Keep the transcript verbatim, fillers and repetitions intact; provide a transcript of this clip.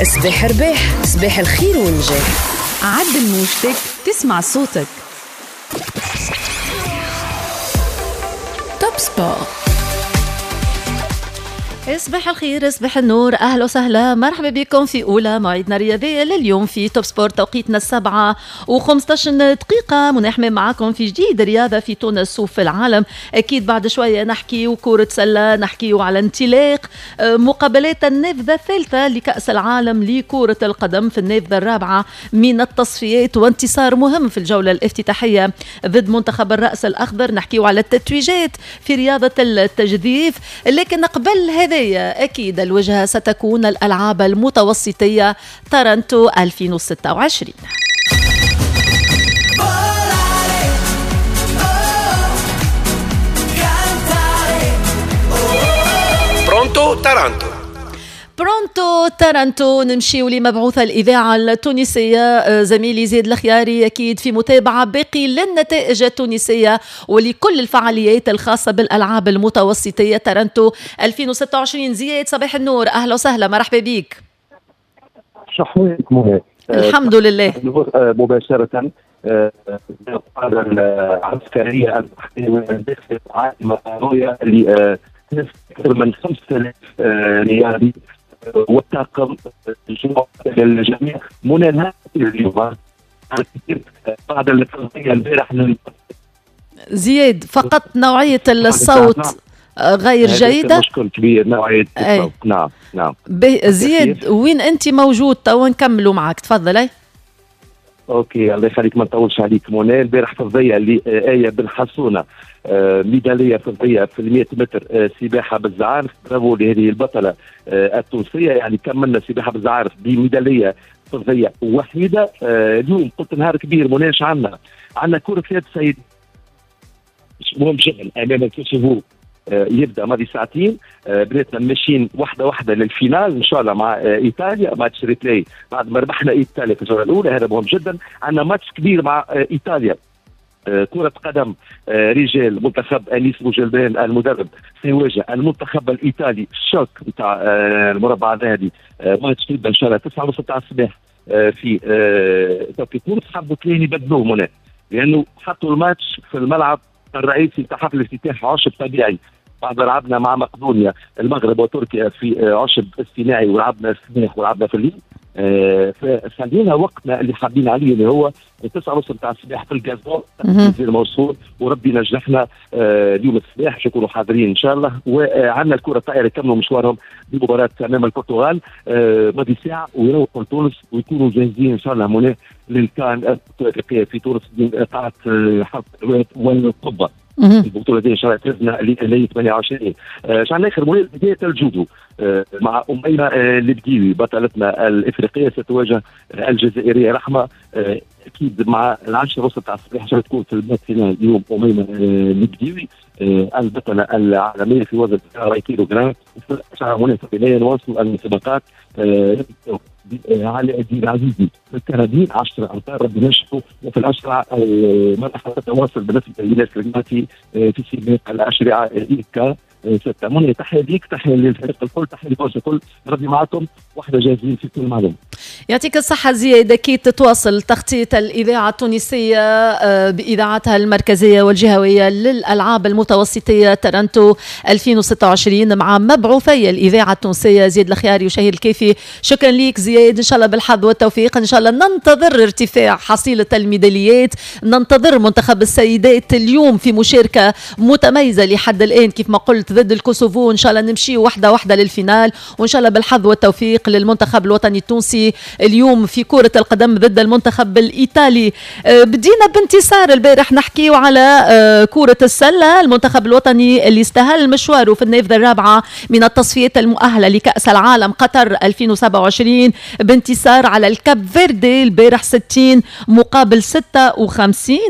صباح رباح، صباح الخير والنجاح. عدل موجتك تسمع صوتك. Top Sport. صباح الخير، صباح النور، اهلا وسهلا، مرحبا بكم في اولى مواعيدنا الرياضية لليوم في Top Sport. توقيتنا السبعة وخمسطاش دقيقة، منحمي معاكم في جديد رياضة في تونس وفي العالم. اكيد بعد شوية نحكي وكره سله، نحكي على انطلاق مقابلات النافذة الثالثة لكاس العالم لكرة القدم في النافذة الرابعة من التصفيات، وانتصار مهم في الجولة الافتتاحيه ضد منتخب الراس الاخضر. نحكي على التتويجات في رياضة التجديف، لكن قبل هذا أكيد الوجهة ستكون الألعاب المتوسطية تارانتو ألفين وستة وعشرين. Pronto تارانتو. Pronto تارانتو، نمشيو لمبعوث الإذاعة التونسية زميلي زيد الخياري، أكيد في متابعة باقي للنتائج التونسية ولكل الفعاليات الخاصة بالألعاب المتوسطية تارانتو ألفين وستة وعشرين. زياد صباح النور، أهلا وسهلا، مرحبا بك. شحوالك؟ الحمد لله. مباشرة القادة العسكرية العاصمة اللي أكثر من خمسة آلاف رياضي والطاقم للجميع منى اليوم بعد التغطية البارح. زياد، فقط نوعية الصوت غير جيدة، مشكل كبير نوعية الصوت. نعم نعم. زياد وين أنت موجود تو نكملوا معك، تفضل. OK الله يخليك، ما نطولش عليك منى. البارح فضية لآية بن حسونه، ميدالية فضية في المئة متر سباحة بالزعارف، برافو لهذه البطلة التونسية. يعني كملنا سباحة بالزعارف بميداليه فضية وحيده. اليوم قلت نهار كبير منى، اش عندنا؟ عندنا كره يد سيد مهم جدا امام الكوسوفو، يبدا ماضي ساعتين. بناتنا ماشيين واحدة واحدة لل finale ان شاء الله مع ايطاليا، match replay بعد ما ربحنا ايطاليا في الجولة الاولى، هذا مهم جدا. عندنا ماتش كبير مع ايطاليا، كرة قدم رجال، منتخب أنيس بوجلبان المدرب سيواجه المنتخب الإيطالي، ال choc نتاع المربع الذهبي. ماتش يبدا إن شاء الله تسعة ونص تاع الصباح في توقيت تونس. حبوا اثنين يبدلوه هنا لأنه حطوا الماتش في الملعب الرئيسي تاع حفل الافتتاح عشب طبيعي، بعد لعبنا مع مقدونيا المغرب وتركيا في عشب اصطناعي ولعبنا الصباح ولعبنا في الليل. فخلينا وقتنا اللي حابين عليه اللي هو تسعة ونص نتاع الصباح في ال gazon الموصول، وربي نجحنا اليوم الصباح باش نكونوا حاضرين ان شاء الله. وعندنا الكره الطائرة يكملوا مشوارهم بمباراة امام البرتغال ماضي ساعة ويروحوا لتونس ويكونوا جاهزين ان شاء الله منى للكان الافريقية في تونس قاعة حرب والقبه. البطولة دي ان شاء الله تهزنا ل ثمانية وعشرين. شعر اخر منى بداية الجودو مع اميمة البديوي بطلتنا الافريقية ستواجه الجزائرية رحمه، اكيد مع العاشرة ونص تاع الصباح عشان تكون في ال finale اليوم. اميمة البديوي البطلة العالمية في وزن أربعين كيلوغرام. وفي العشرة منى نواصل المسابقات علي الدين العزيزي في الكرابين عشرة امتار ربي ينجحوا. وفي الاشرعه المرحلة تتواصل بالنسبة للناس الرياضي في سباق الاشرعه ايكا ستة. منى تحية ليك، تحية للفريق الكل، تحية للكل الكل، ربي معكم واحدة جاهزين في كل معلومة. يعطيك الصحة زياد. أكيد تتواصل تغطية الإذاعة التونسية بإذاعتها المركزية والجهوية للألعاب المتوسطية تارانتو ألفين وستة وعشرين مع مبعوثي الإذاعة التونسية زياد الخياري وشهير الكافي. شكرا ليك زياد، إن شاء الله بالحظ والتوفيق. إن شاء الله ننتظر ارتفاع حصيلة الميداليات، ننتظر منتخب السيدات اليوم في مشاركة متميزة لحد الآن كيف ما قلت ضد الكوسوفو. إن شاء الله نمشي واحدة واحدة لل finale، وإن شاء الله بالحظ والتوفيق للمنتخب الوطني التونسي اليوم في كرة القدم ضد المنتخب الإيطالي. بدينا بانتصار البارح، نحكيو على كرة السلة، المنتخب الوطني اللي استهل مشواره في النافذة الرابعة من التصفيات المؤهلة لكأس العالم قطر ألفين وسبعة وعشرين بانتصار على الكاب فيردي البارح ستين مقابل ستة وخمسين.